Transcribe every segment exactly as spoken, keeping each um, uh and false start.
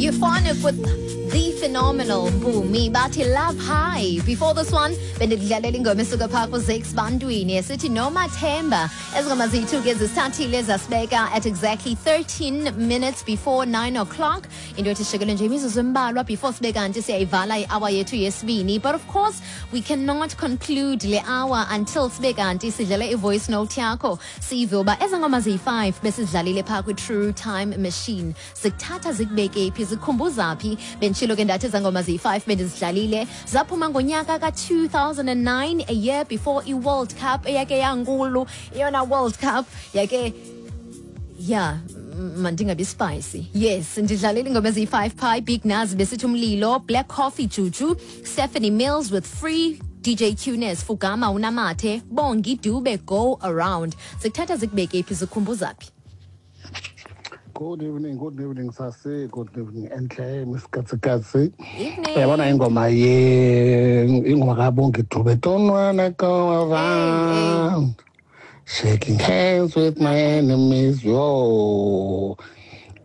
Euphonic with the phenomenal Bumi bathi Love High. Before this one, bendidlalela ingoma esuka phaa kuZakes Bantwini esithi Nomathemba. Ezingoma zethu ke zisithathile zasibeka at exactly thirteen minutes before nine o'clock. Into ethi shekele nje imizuzu embalwa before sibe kanti siyayivala i-hour yethu yesibini. But of course, we cannot conclude le hour until sibe kanti sidlale i-voice note yakho. Sive uba ezi ngoma ziyi-five besizidlalile phaa kwi-True Time Machine. Zikuthatha zikubeke phi, zikukhumbuza phi? Benditshilo ke ndathi ezaa ngoma ziyi-five bendizidlalile zaphuma ngonyaka ka-two thousand and nine, a year before i-World Cup eyake yankulu, eyona World Cup yake yeah, mandingabi spicy. Yes, ndidlalile ingoma eziyi-five phi. Big Nuz besithi Umlilo, Black Coffee Juju, Stephanie Mills with Free, D J Tunes, Fugama Unamathe, Bongi Dube Go Around. Zikuthatha zikubeke phi, zikukhumbuza phi? Good evening, good evening, Sasi. Good evening, Enhle, Miss Katsikatsi. Evening. Uyabona ingoma ye ingoma kaBongi Dube, Don't wanna go around shaking hands with my enemies. Yo.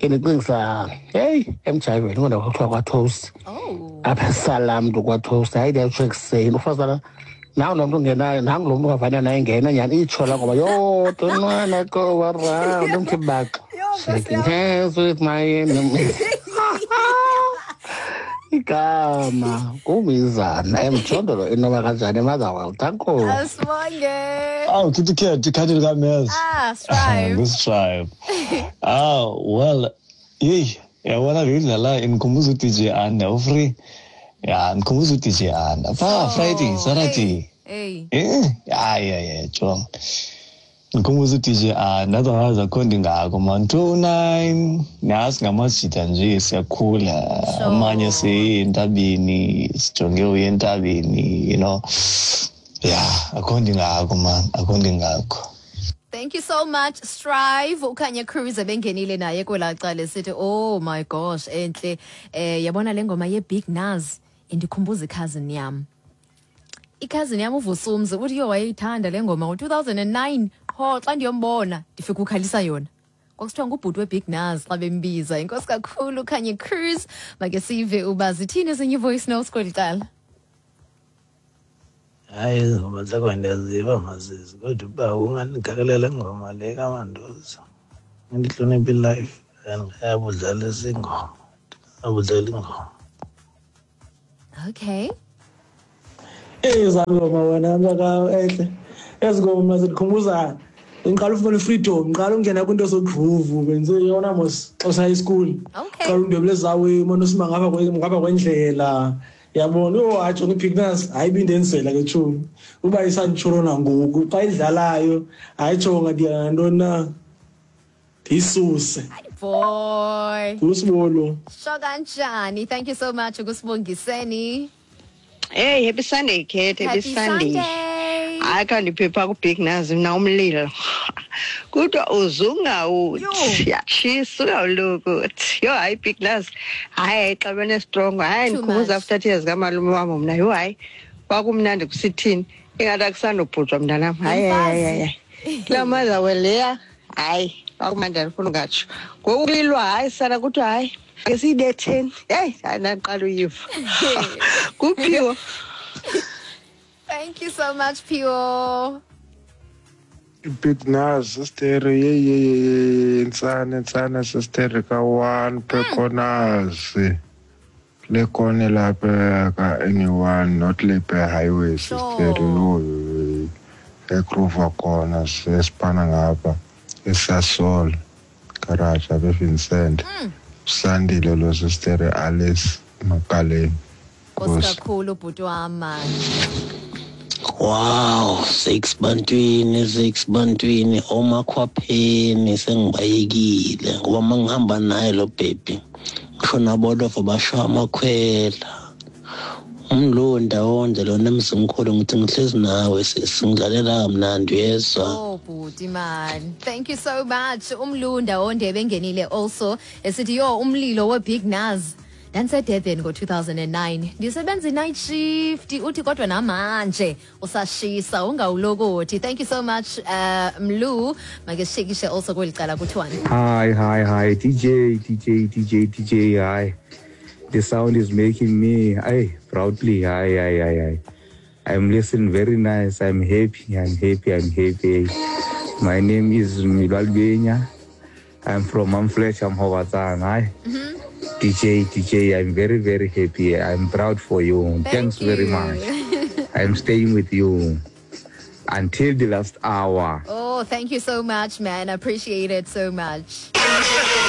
Indicingisa, hey, emjayiveni kodwa kwakuthiwa kwaToast. Oh. Apha esalamntu kwaToast, hayi ndiyatsho ekuseni. Ufazana nawu lo mntu ungenayo, nangu lo mntu ungavana naye ingena nyhani itsho la ngoba, yo, don't wanna go around, umthi baxa. Shaking hands with my enemies. Igama kumizana emjondolo inoba kanjani eMotherwell. Danko. Asibonge. Oh, kitty cat, ikhadi likaMez. Ah, Strive. This Strive. Ah, well, yey, yabona le ndlela indikhumbuza u-D J Anna, u-free. Yeah, ndikhumbuza u-D J Anna. Pha, Oh, Friday, Saturday. Hey. Eh, yeah, yeah, yeah, jong. Ndikhumbuza u-D J Anna, otherwise akho nto ingako, man. two nine, nazi ngamajita nje siyakhula. Sure. Amanye siye entabeni, sijonge uye entabeni, you know. Yeah, akho nto ingako, man, akho nto ingako. Thank you so much, Strive. Ukhanya Cruz ebengenile naye kwelaa cala esithi, oh my gosh, enhle. Eh, yabona le ngoma ye-Big Nuz indikhumbuza i-cousin yam. I-cousin yam uVusumzi uthi yo wayeyithanda le ngoma ngo-two thousand and nine. Qho xa ndiyombona ndifika ukhalisa yona. Kwakuthiwa ngubhuti we-Big Nuz xa bembiza. Inkosi kakhulu Khanye Cruz. Make sive uba zithini ezinye ii-voice notes kweli cala. Hayi, izingoma zakho ndiyaziva mazizi, kodwa uba ungandigakelela ingoma le kaMandoza. Andihloniphe i-life and ayabudlalisa ingoma. Abudlala ingoma. Okay. Ezi ngoma wena mntaka enhle. Ezi ngoma zikhumbuza ngiqala ufuna freedom, ngiqala ungena kwinto zogroove, benze yona mos xa high school. Okay. Qala undwebule zawe mona usima ngapha kwe ngapha kwendlela. Yabona yo atsho ngiBig Nuz hayi ibindenzela ke tshomi. Uba isanditshorona ngoku xa idlalayo hayi tsho ndiya ntoni na ndiyisuse. Boy. Usibolo. Sho kanjani? Thank you so much ukusibongiseni. Hey, happy Sunday, Kate. Happy, Happy Sunday. Sunday. Hayi khandiphepha kuBig Nuz mna umlilo. Kodwa uzungawuthi yatshisa ungawulokuthi. Yho hayi Big Nuz. Hayi xa bene strong. Hayi Too ndikhumbuza much. after tears kamalume wam mna. Yho hayi kwakumnandi kusithini. Ingathi akusandobhujwa mntanam. Hayi hayi hayi hayi. Kulaa Motherwell leya hayi kwakumnandi andifuni ungatsho. Ngoku kulilwa hayi sana kuthiwa hayi ke siyibetheni. Heyi hayi ndaqala uyiva. Kuphiwo. Thank you so much, Pio. Big Nuz, sister, ye ye ye, ntsana ntsana sister ka one pekonazi. Le kone lapha ka anyone not lepe highway sister Sure. yo. Egrova kona sesipana ngapha eSasol garage abe Vincent. Mm. Sandile lo sister Alice Makaleni. Nkosi kakhulu bhuti wam man. Wow, six bantwini, six bantwini, omakhwapheni sengibayekile ngoba mangihamba naye lo baby. Ngisho nabolofa basho amakhwela. Umlunda wonke lona emzimkhulu ngithi ngihlezi nawe singidlalela kamnandi uyezwa. Oh bhuti man, thank you so much. Umlunda wonke bengenile also esithi yo umlilo we Big Nuz. Ndandisedurban ngo-two thousand and nine, ndisebenza i-night shift. Uthi kodwa namanje usashisa, ungawulokothi. Thank you so much, uh, Mlu. Make sishekishe also kweli cala kuthiwani. Hi, hi, hi, D J, D J, D J, D J, hi. The sound is making me, hey, proudly, hi, hi, hi, hi. I'm listening very nice. I'm happy, I'm happy, I'm happy. My name is Milal Benya. I'm from Mamfletch, I'm Howatan, hi. Mm-hmm. D J, D J, I'm very, very happy. I'm proud for you. Thank Thanks you. very much. I'm staying with you until the last hour. Oh, thank you so much, man. I appreciate it so much.